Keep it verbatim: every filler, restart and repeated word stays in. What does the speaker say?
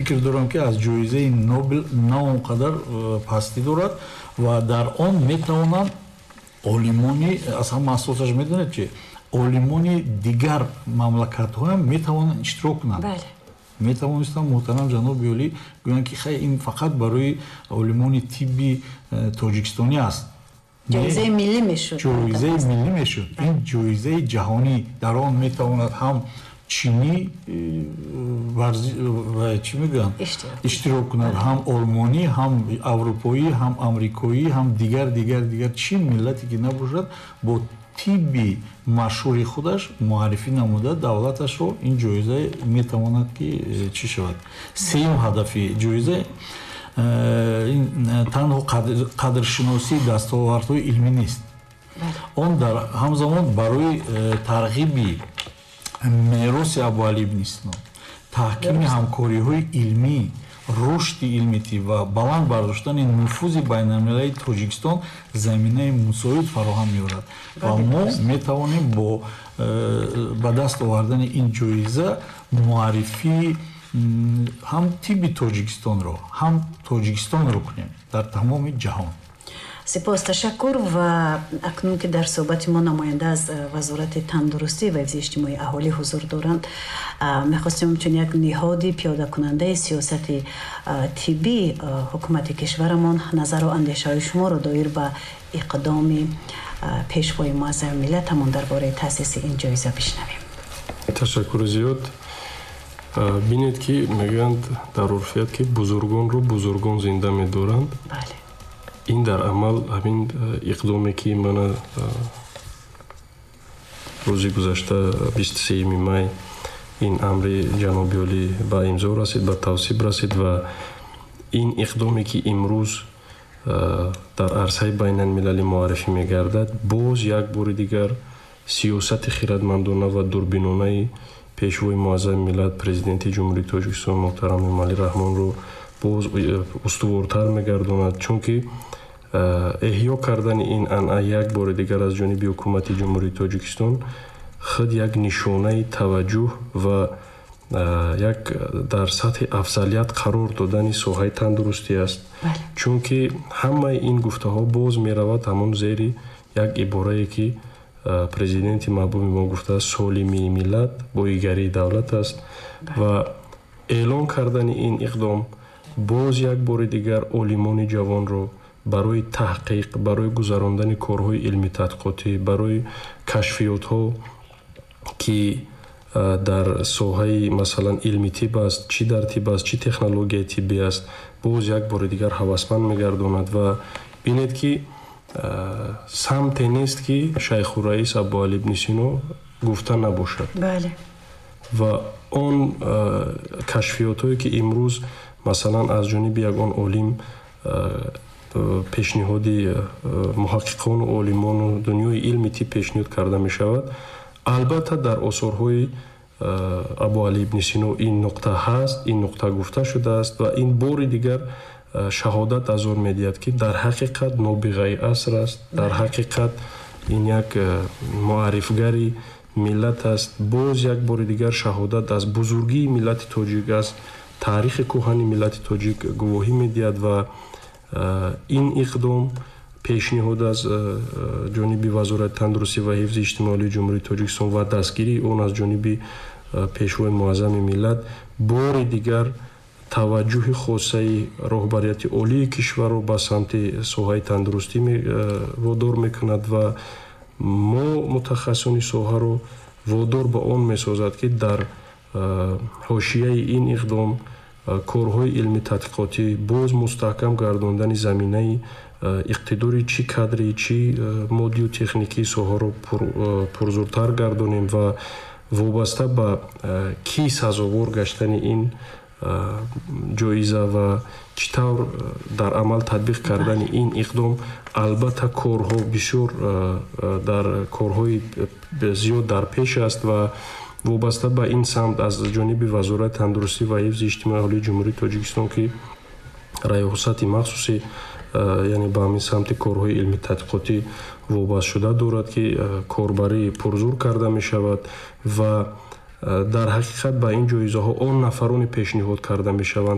Фикр дорам, ки аз ҷоизаи Нобел на он қадар э, пастӣ дорад ва дар он метавонанд олимони, аз ҳама асосаш медонед чи, олимони дигар мамлакатҳоям метавонанд иштирок кунанд. Метавонистанд муҳтарам ҷаноби олӣ гӯянд, ки хай, ин фақат барои олимони тибби э, тоҷикистонӣ аст. Ҷоизаи миллӣ мешуд. Ҷоизаи миллӣ мешуд. Ин ҷоизаи ҷаҳонӣ, дар он метавонад ҳам чинӣ э, чӣ мегӯянд, иштирок кунад, ҳам олмонӣ, ҳам аврупоӣ, ҳам амрикоӣ, ҳам дигар, дигар, дигар, чӣ миллате ки набошад, бо тибби машҳури худаш муаррифӣ намуда давлаташро, ин ҷоиза метавонад ки э, чӣ шавад. Сеюм ҳадафи ҷоиза э, ин танҳо қадршиносии дастовардҳои илмӣ нест, он дар ҳамзамон барои тарғиби мероси Абуалӣ ибни Сино, таҳкими ҳамкориҳои илмӣ, рушди илми тиб ва баланд бардоштани нуфузи байналмилалии Тоҷикистон заминаи мусоид фароҳам меорад. Ва мо метавонем бо э, ба даст овардани ин ҷоиза муаррифии ҳам тибби тоҷикистонро, ҳам Тоҷикистонро кунем дар тамоми ҷаҳон. Сипос, ташаккур. Ва акнун ки дар суҳбати мо намоянда аз э, Вазорати тандурустӣ ва ҳифзи иҷтимоии аҳолӣ ҳузур доранд, мехостем чун як ниҳоди пиёдакунандаи сиёсати тиббии ҳукумати кишварамон назару андешаҳои шуморо доир ба иқдоми пешвои муаззами миллатамон дар бораи таъсиси ин ҷоиза бишнавем. Ташаккури зиёд. Бинед, ки мегӯянд дар урфият, ки бузургонро бузургон зинда медоранд. Бале. Ин дар амал ҳамин э, иқдоме, ки мана э, рӯзи гузашта, бисту сеюми май, ин амри ҷаноби олӣ ба имзо расид, ба тавсиб расид ва ин иқдоме, ки имрӯз э, дар арсаи байналмилалӣ муаррифӣ мегардад, боз як бори дигар сиёсати хирадмандона ва дурбинонаи пешвои муаззами миллат, Президенти Ҷумҳурии Тоҷикистон муҳтарам Эмомалӣ Раҳмонро боз устувортар мегардонад, чунки эҳё кардани ин анъана як бори дигар аз ҷониби ҳукумати Ҷумҳурии Тоҷикистон худ як нишонаи таваҷҷӯҳ ва як дар сатҳи афзалият қарор додани соҳаи тандурустӣ аст, чунки ҳамаи ин гуфтаҳо боз меравад ҳамон зери як иборае, ки президенти маҳбуби мо гуфтааст: «Солимии миллат боигарии давлат аст». Ва эълон кардани ин иқдом боз як бори дигар олимони ҷавонро барои таҳқиқ, барои гузарондани корҳои илмӣ тадқиқотӣ, барои кашфиётҳо, ки дар соҳаи, масалан, илми тиб аст, чӣ дар тиб аст, чӣ технологияи тиббӣ аст, боз як бори дигар ҳавасманд мегардонад. Ва бинед, ки самте нест, ки Шайхураис Абуалӣ ибни Сино гуфта набошад. Бале. Ва он кашфиётҳое, ки имрӯз, масалан, аз ҷониби ягон олим пешниҳоди муҳаққиқону олимону дунёи илми тиб пешниҳод карда мешавад, албатта дар осорҳои Абуалӣ ибни Сино ин нуқта ҳаст, ин нуқта гуфта шудааст. Ва ин бори дигар шаҳодат аз он медиҳад, ки дар ҳақиқат нобиғаи аср аст, дар ҳақиқат ин як муаррифгари миллат аст, боз як бори дигар шаҳодат аз бузургии миллати тоҷик аст, таърихи кӯҳани миллати тоҷик гувоҳӣ медиҳад. Ва ин иқдом, пешниҳод аз ҷониби Вазорати тандурустӣ ва ҳифзи иҷтимоии Ҷумҳурии Тоҷикистон ва дастгирии он аз ҷониби пешвои муаззами миллат бори дигар таваҷҷӯҳи хосаи роҳбарияти олии кишварро ба самти соҳаи тандурустӣ водор мекунад ва мо мутахассисони соҳаро водор ба он месозад, ки дар ҳошияи ин иқдом корҳои илми тадқиқотӣ, боз мустаҳкам гардондани заминаи иқтидори чӣ кадрӣ, чӣ моддию техникии соҳаро пурзуртар гардонем. Ва вобаста ба кӣ сазовор гаштани ин ҷоиза ва чӣ тавр дар амал татбиқ кардани ин иқдом, албатта корҳо бисёр, дар корҳои зиёд дар пеш аст. Ва вобаста ба ин самт аз ҷониби Вазорати тандурустӣ ва ҳифзи иҷтимоии аҳолии Ҷумҳурии Тоҷикистон, ки раёсати махсуси, яъне ба ҳамин самти корҳои илми тадқиқотӣ вобастшуда дорад, ки корбарӣ пурзур карда мешавад ва Дар ҳақиқат ба ин ҷоизаҳо он нафароне пешниҳод карда мешаванд.